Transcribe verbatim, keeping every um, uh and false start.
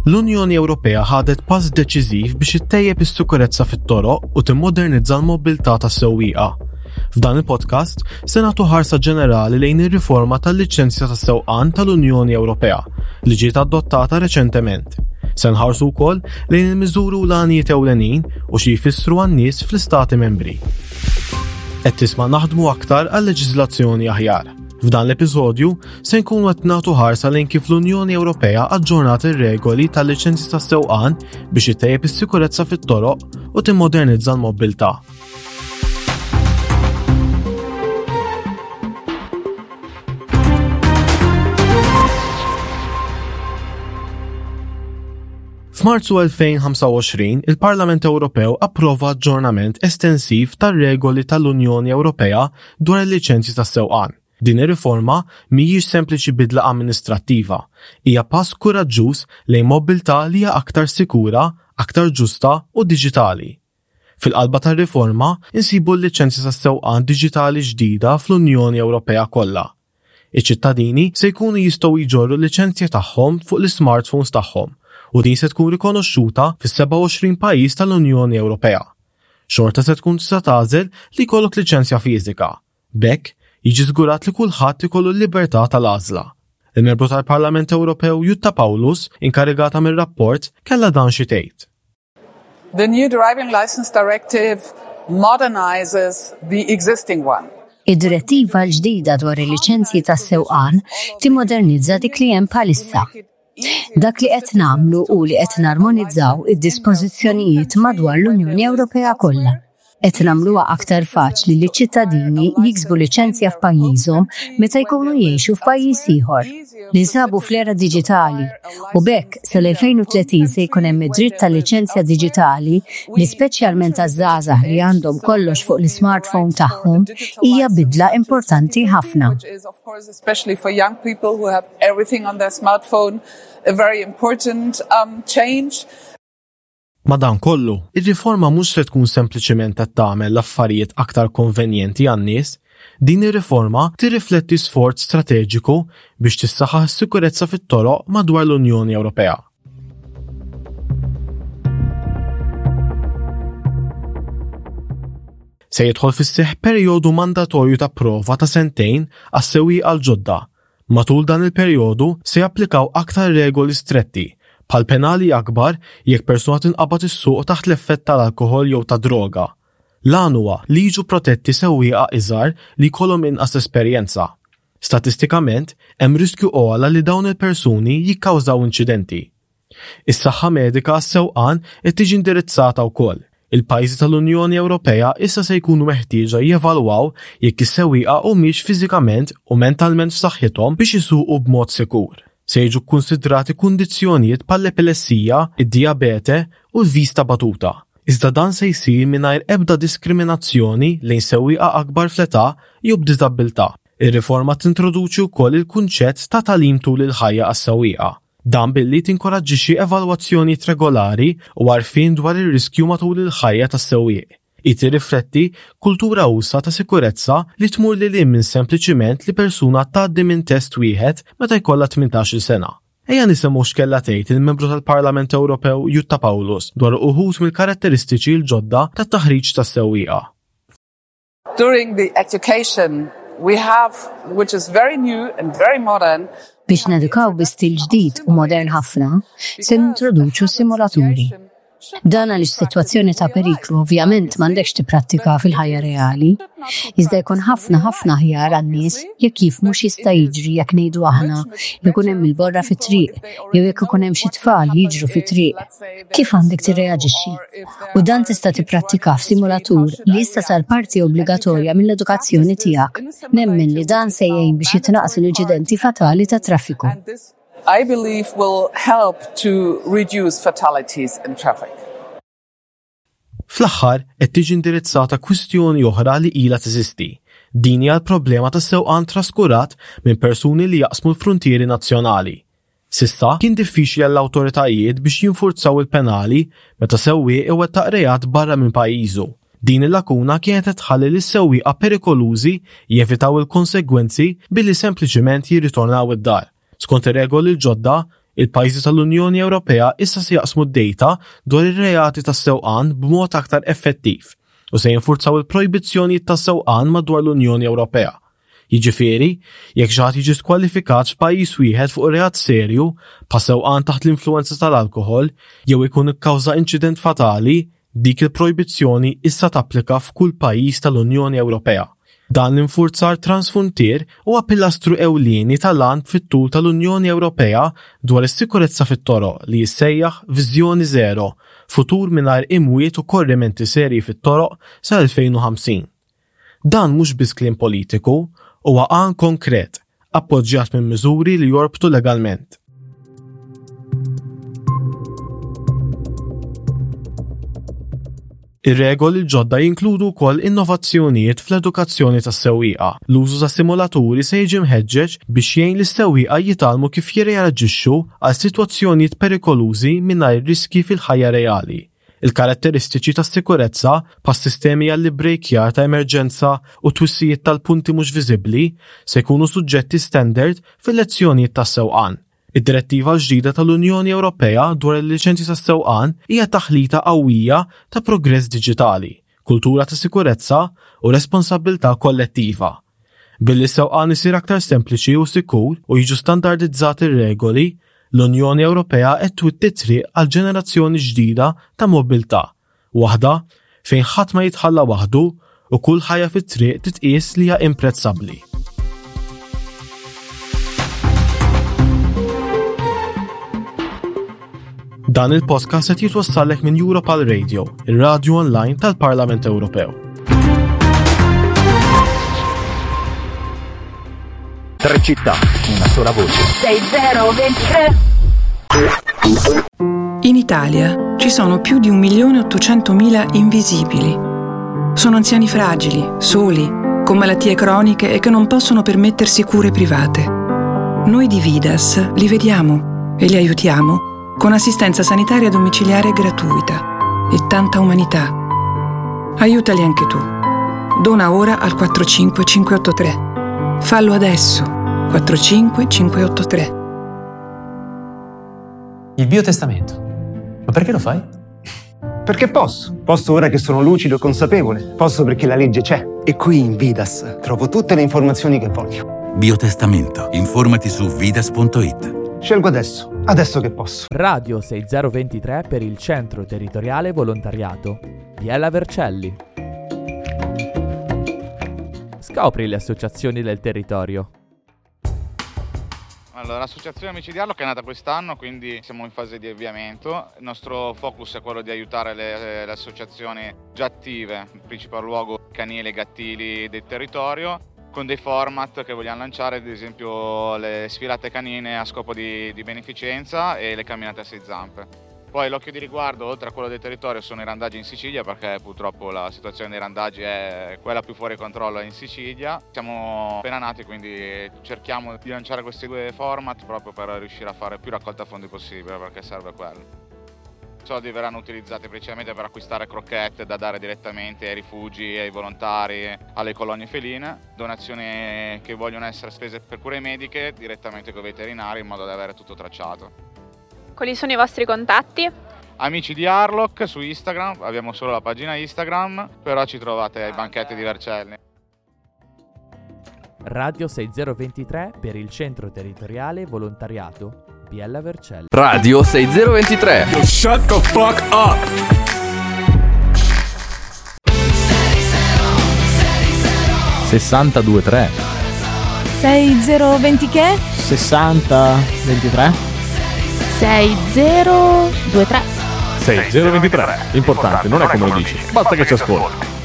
L-Unjoni Ewropea ħadet pass deċiżiv biex ittejjeb is-sikurezza fit-toroq u timmodernizza l-mobilità tas-sewwieqa. F'dan il-podcast se nagħtu ħarsa ġenerali lejn ir-riforma tal-liċenzja tas-sewqan tal-Unjoni Ewropea li ġiet adottata reċentement. Se nħarsu wkoll lejn il-miżuri u l-għanijiet ewlenin u xi jfissru għan-nies fl-istati membri. Qed tisma' naħdmu aktar għal leġiżlazzjoni aħjar. F'dan l-episodju se nkunu qed nagħtu ħarsa lejn kif l-Unjoni Ewropea aġġornat ir-regoli tal-liċenzji tas-sewqan biex ittejjeb is-sikurezza fit-toroq u timmodernizza l-mobilità. F'Marzu elfejn u ħamsa u għoxrin, il-Parlament Ewropew approva aġġornament estensiv tar-regoli tal-Unjoni Ewropea dwar il-liċenzji tas-sewqan. Din ir-riforma mhijiex sempliċi bidla amministrattiva, hija pass kuraġġuż lejn mobilità li hija aktar sikura, aktar ġusta u diġitali. Fil-qalba tar-riforma insibu l-liċenzja tas-sewqan diġitali ġdida fl-Unjoni Ewropea kollha. Iċ-ċittadini se jkunu jistgħu jġorru l-liċenzja tagħhom fuq l-smartphones tagħhom u din se tkun rikonoxxuta fis-sebgħa u għoxrin pajjiż tal-Unjoni Ewropea. Xorta se tkun tista' tagħżel li jkollok liċenzja fiżika. B'hekk jiġi żgurat li kulħadd ikollu l-libertà tal-għażla. Il-membru tal-Parlament Ewropew Jutta Paulus, inkarigata mir-rapport, kellha dan xi tgħid. The new Driving License Directive modernizes the existing one. Id-direttiva l-ġdida dwar il-liċenzji tas-sewqan timmodernizza dik li hemm bħalissa. Dak li qed nagħmlu hu li qed narmonizzaw id-dispożizzjonijiet madwar l-Unjoni Ewropea kollha. Qed nagħmluha aktar faċli li ċittadini jiksbu liċenzja f'pajjiżhom meta jkunu jgħixu f'pajjiż ieħor. Ninsabu fl-era diġitali u b'hekk sal-elfejn u tletin se jkun hemm id-dritt tal-liċenzja diġitali li, speċjalment għaż-żgħażagħ li għandhom kollox fuq l-smartphone tagħhom, hija bidla importanti ħafna. Especially for young people who have everything on their smartphone, a very important um, change. Madankollu, ir-riforma mhux se tkun sempliċement qed tagħmel l-affarijiet aktar konvenjenti għan-nies. Din ir-riforma tirrifletti sforz strateġiku biex tissaħħaħ is-sikurezza fit-toroq madwar l-Unjoni Ewropea. Se jidħol fis-seħ perjodu mandatorju ta' prova ta' sentejn għas-sewwieqa l-ġodda. Matul dan il-perjodu se japplikaw aktar regoli stretti, bħal penali akbar jekk persuna tinqabad issuq taħt l-effett tal-alkoħol jew ta' droga. L-għan huwa li jiġu protetti sewwieqa iżgħar li jkollhom inqas esperjenza. Statistikament, hemm riskju ogħla li dawn il-persuni jikkawżaw inċidenti. Is-saħħa medika għas-sewqan qed tiġi indirizzata wkoll. Il-pajjiżi tal-Unjoni Ewropea issa se jkunu meħtieġa jevalwaw jekk is-sewwieqa humiex fiżikament u mentalment f'saħħithom biex isuqu b'mod sikur. Se jiġu kkunsidrati kundizzjonijiet bħall-epilessija, id-dijabete u l-vista batuta. Iżda dan se jsir mingħajr ebda diskriminazzjoni lejn sewwieqa akbar fl-età jew b'diżabilità. Ir-riforma tintroduċi wkoll il-kunċett ta' tagħlim tul il-ħajja għas-sewwieqa. Dan billi tinkoraġġixxi evalwazzjonijiet regolari u għarfien dwar ir-riskju matul il-ħajja tas-sewwieq. Hi tirrifletti kultura usa' ta' sikurezza li tmur lil hinn minn sempliċiment li persuna tgħaddi minn test wieħed meta jkollha tmintax-il sena. Ejja nisimgħu x'kellha tgħid il-membru tal-Parlament Ewropew Jutta Paulus dwar uħud mill-karatteristiċi l-ġodda tat-taħriġ tas-sewwieqa. During the education we have, which is very new and very modern, Biex nedukaw bi stil ġdid u modern ħafna, se nintroduċu simulaturi. Dan għaliex sitwazzjoni ta' periklu ovvjament m'għandekx tipprattika fil-ħajja reali. Iżda jkun ħafna ħafna aħjar għan-nies jekk jifhmu x'jista' jiġri jekk, ngħidu aħna, jkun hemm il-borra fit-triq jew jekk ikun hemm xi tfal jiġru fit-triq. Kif għandek tirreaġixxi? U dan tista' tipprattika f'simulatur li issa sar parti obbligatorja mill-edukazzjoni tiegħek. Nemmen li dan se jgħin biex jitnaqsu l-inċidenti fatali ta' traffiku. And this, I believe, will help to reduce fatalities in traffic. Fl-aħħar qed tiġi indirizzata kwistjoni oħra li ilha teżisti. Din hija l-problema ta' sewqan traskurat minn persuni li jaqsmu l-frontieri nazzjonali. S'issa kien diffiċli għall-awtoritajiet biex jinfurzaw il-penali meta sewwieq iwettaq reat barra minn pajjiżu. Din il-lakuna kienet tħalli lis sewwieqa perikolużi jevitaw il-konsegwenzi billi sempliċiment jirritornaw id-dar. Skont ir-regoli l-ġodda, Il-pajjiżi tal-Unjoni Ewropea issa se jaqsmu d-data dwar ir-reati tas-sewqan b'mod aktar effettiv u se jinfurzaw il-projbizzjonijiet tas-sewqan madwar l-Unjoni Ewropea. Jiġifieri, jekk xi ħadd jiġi skwalifikat f'pajjiż wieħed fuq reat serju bħal sewqan taħt l-influwenza tal-alkoħol jew ikun ikkawża inċident fatali, dik il-projbizzjoni issa tapplika f'kull pajjiż tal-Unjoni Ewropea. Dan l-infurzar transfruntier huwa pilastru ewlieni tal-għan fit-tul tal-Unjoni Ewropea dwar is-sikurezza fit-toroq li jissejjaħ Viżjoni Żero, futur mingħajr imwiet u korrimenti serji fit-toroq sa elfejn u ħamsin. Dan mhux biss kliem politiku, huwa għan konkret, appoġġjat minn miżuri li jorbtu legalment. Ir-regoli l-ġodda jinkludu wkoll innovazzjonijiet fl-edukazzjoni tas-sewwieqa. L-użu ta' simulaturi se jiġi mħeġġeġ biex jgħin lis-sewwieqa jitgħallmu kif jirreaġixxu għal sitwazzjonijiet perikolużi mingħajr riski fil-ħajja reali. Il-karatteristiċi tas-sikurezza bħas-sistemi għall-ibbrejkjar ta' emerġenza u twissijiet tal-punti mhux viżibbli se jkunu suġġetti standard fil-lezzjonijiet tas-sewqan. Id-direttiva l-ġdida tal-Unjoni Ewropea dwar il-liċenzji tas-sewqan hija taħlita qawwija ta' progress diġitali, kultura ta' sikurezza u responsabbiltà kollettiva. Billi s-sewqan isir aktar sempliċi u sikur u jiġu standardizzati r-regoli, l-Unjoni Ewropea qed twitti triq għal ġenerazzjoni ġdida ta' mobilità, waħda fejn ħadd ma jitħalla waħdu u kull ħajja fit-triq titqies li hija imprezzabbli. Dan il-podcast qed jitwassallek minn Europal Radio, ir-radju online tal-Parlament Ewropew. Tre città, una sola voce. sei zero ventitré. In Italia ci sono più di un milione ottocentomila invisibili. Sono anziani fragili, soli, con malattie croniche e che non possono permettersi cure private. Noi di Vidas li vediamo e li aiutiamo con assistenza sanitaria domiciliare gratuita e tanta umanità. Aiutali anche tu. Dona ora al quattro cinque cinque otto tre. Fallo adesso. quattro cinque cinque otto tre. Il biotestamento. Ma perché lo fai? Perché posso. Posso ora che sono lucido e consapevole. Posso perché la legge c'è. E qui in Vidas trovo tutte le informazioni che voglio. Biotestamento. Informati su vidas punto it. Scelgo adesso, adesso che posso. Radio sei zero ventitré per il Centro Territoriale Volontariato. Biella Vercelli. Scopri le associazioni del territorio. Allora, l'associazione Amici di Harlock è nata quest'anno, quindi siamo in fase di avviamento. Il nostro focus è quello di aiutare le, le associazioni già attive, in principal luogo canili e gattili del territorio, con dei format che vogliamo lanciare, ad esempio le sfilate canine a scopo di, di beneficenza e le camminate a sei zampe. Poi l'occhio di riguardo, oltre a quello del territorio, sono i randaggi in Sicilia, perché purtroppo la situazione dei randaggi è quella più fuori controllo in Sicilia. Siamo appena nati, quindi cerchiamo di lanciare questi due format proprio per riuscire a fare più raccolta fondi possibile, perché serve quello. I soldi verranno utilizzati principalmente per acquistare crocchette da dare direttamente ai rifugi, ai volontari, alle colonie feline, donazioni che vogliono essere spese per cure mediche direttamente con i veterinari in modo da avere tutto tracciato. Quali sono i vostri contatti? Amici di Harlock su Instagram, abbiamo solo la pagina Instagram, però ci trovate ai banchetti di Vercelli. Radio sei zero ventitré per il Centro Territoriale Volontariato Biella Vercelli. Radio sei zero ventitré. Yo, shut the fuck up. sessantadue tre. sei zero venti che? sessanta ventitré. sei zero due tre. sei zero ventitré. L'importante non è come lo dici, basta che ci ascolti.